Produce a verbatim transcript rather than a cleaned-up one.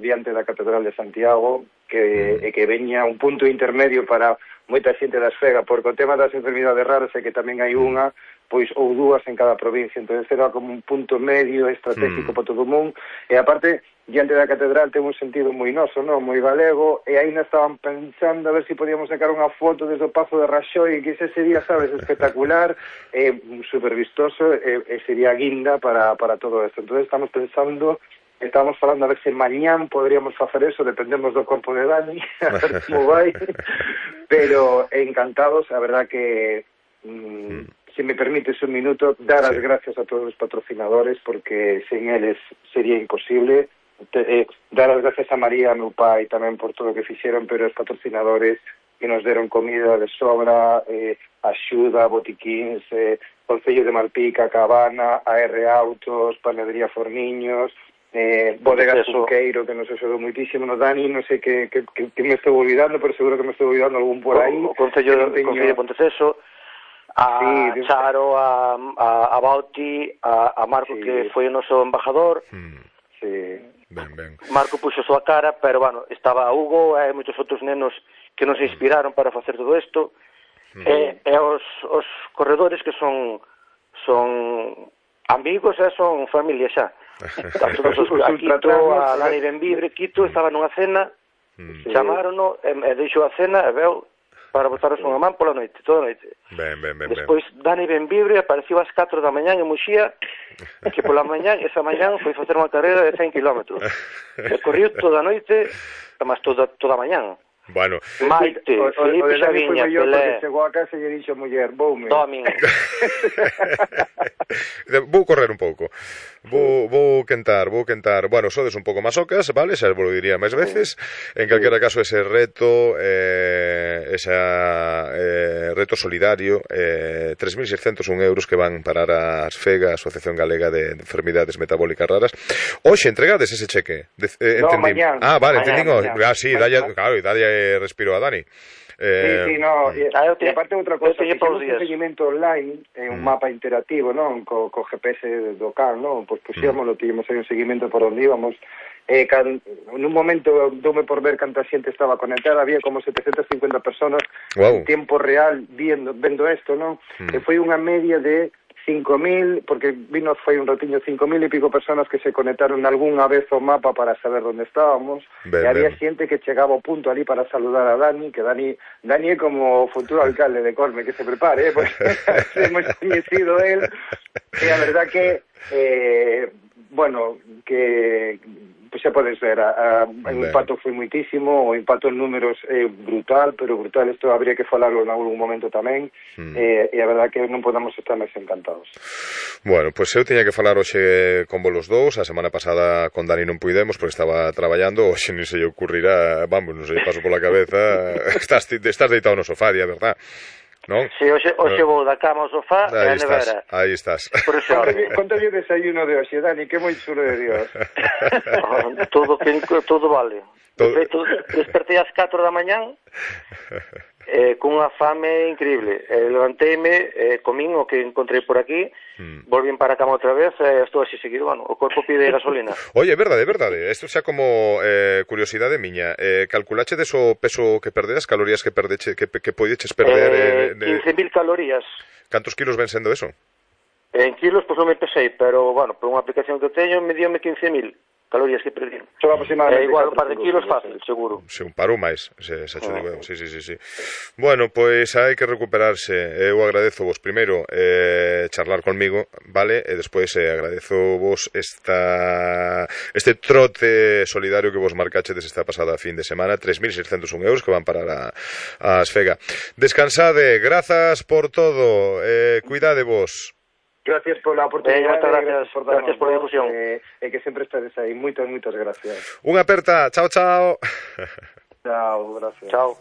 diante da Catedral de Santiago, que, e que veña un punto intermedio para moita xente das Fega, porque o tema das enfermidades raras é que tamén hai unha, pois ou dúas en cada provincia, entón era como un punto medio estratégico mm. para todo o mundo, e aparte, diante da Catedral ten un sentido moi noso, non? Moi galego, e aí nos estaban pensando a ver se si podíamos sacar unha foto desde o Pazo de Raxoi, que ese sería, sabes, espectacular, e super vistoso, e, e sería guinda para, para todo esto. Entón estamos pensando... Estamos falando a ver se mañán poderíamos facer eso, dependemos do corpo de Dani, a ver como vai, pero encantados, a verdad que, mm, se me permites un minuto, dar as sí. gracias a todos os patrocinadores, porque sen eles sería imposible, Te, eh, dar as gracias a María, a meu pai, tamén por todo o que fixeron, pero os patrocinadores que nos deron comida de sobra, eh, axuda, botiquíns, eh, Concello de Malpica, Cabana, A R Autos, Panadería Forniños, eh, Bodega Suqueiro, que nos axudou muitísimo, no Dani, non sei que, que, que, que me estou olvidando, pero seguro que me estou olvidando algún por aí. O Concello de teño... Concello de Ponteceso, a sí, Charo, a, a, a Bauti, a, a Marco, sí. que foi o noso embajador. Hmm. Sí. Ben, ben. Marco puxo a súa cara, pero, bueno, estaba Hugo e moitos outros nenos que nos inspiraron para facer todo isto. Hmm. E, e os, os corredores que son son amigos e son familia xa. A todos os, a Quito, a Dani Benvibre, Quito estaba nunha cena, mm. chamarono, e, e deixou a cena e veu para botaros unha man pola noite, toda a noite. Ben, ben, ben, Despois ben. Dani Benvibre apareceu ás catro da mañán en Muxía, que pola mañán, esa mañán foi facer unha carreira de cen kilómetros. E corriu toda a noite, mas toda, toda a mañán. Bueno, Maite, o, o, Felipe o Xaviña, Pelé. Chegou a casa e lle dixo muller, voume. Domin. Vou correr un pouco. Vou, vou quentar, vou quentar. Bueno, sodes un pouco masocas, vale? Xa vos lo diría máis veces. En calquera caso, ese reto, eh, esa eh, reto solidario, eh, tres mil seiscentos un euros que van parar as FEGA, Asociación Galega de Enfermidades Metabólicas Raras. Hoxe entregades ese cheque. De, eh, no, entendí. mañán. Ah, vale, entendí. Mañán. Ah, sí, dalle, claro, dalle respiro a Dani. Eh, sí, sí, no, e, ah, e aparte outra cosa, fixemos un días. seguimento online en un mm. mapa interactivo, non? Co, co G P S do can, non? Pois puxémoslo, mm. tivemos aí un seguimento por onde íbamos. Eh, can, nun momento doume por ver canta xente estaba conectada, había como setecientas cincuenta personas wow. en tempo real viendo, vendo isto, non? Mm. E foi unha media de cinco mil, porque vino foi un ratiño cinco mil e pico personas que se conectaron algunha vez ao mapa para saber onde estábamos, ben, e había ben. xente que chegaba ao punto ali para saludar a Dani, que Dani Dani é como o futuro alcalde de Corme, que se prepare, eh, porque hemos coñecido él, e a verdad que eh, bueno, que pues xa podes ver, a, a, o impacto foi muitísimo, o impacto en números é brutal, pero brutal, isto habría que falarlo en algún momento tamén, mm. eh, e a verdad que non podamos estar máis encantados. Bueno, pois pues eu tiña que falar hoxe con vos los dous, a semana pasada con Dani non puidemos porque estaba traballando, hoxe non se lle ocurrirá, vamos, non se lle paso pola cabeza, estás, estás deitado no sofá, di a verdad. Non? Si, hoxe, hoxe vou da cama ao sofá e a nevera. Aí estás. Contalle o desayuno de hoxe, Dani, que moi chulo de Dios. todo, que, todo vale. Todo... De feito, despertei ás catro da mañán eh, cunha fame increíble. Eh, levanteime, eh, comín o que encontrei por aquí, mm. volvín para a cama outra vez e eh, estou así seguido, bueno, o corpo pide gasolina. Oye, é verdade, é verdade. Isto xa como eh, curiosidade miña. Eh, calculache deso peso que perdeas, calorías que perdeche, que, que podeches perder? Eh, eh, quince mil calorías. Cantos kilos ven sendo eso? En kilos, pois pues, non me pesei, pero, bueno, por unha aplicación que teño, me diome quince mil calorías que perdí. É igual un par de kilos fácil, seguro. Se un paro máis, se, se ah. digo, sí, sí, sí, sí. Bueno, pois hai que recuperarse. Eu agradezo vos primeiro eh, charlar conmigo, vale? E despois eh, agradezo vos esta este trote solidario que vos marcachedes esta pasada fin de semana, tres mil seiscentos un euros que van parar a, a Asfega. Descansade, grazas por todo, eh, cuidade vos. Gracias pola oportunidade, eh, gracias, por, gracias por a difusión. E eh, eh, que sempre estades aí. Moitas, moitas gracias. Unha aperta, chao, chao. Chao, gracias. Chao.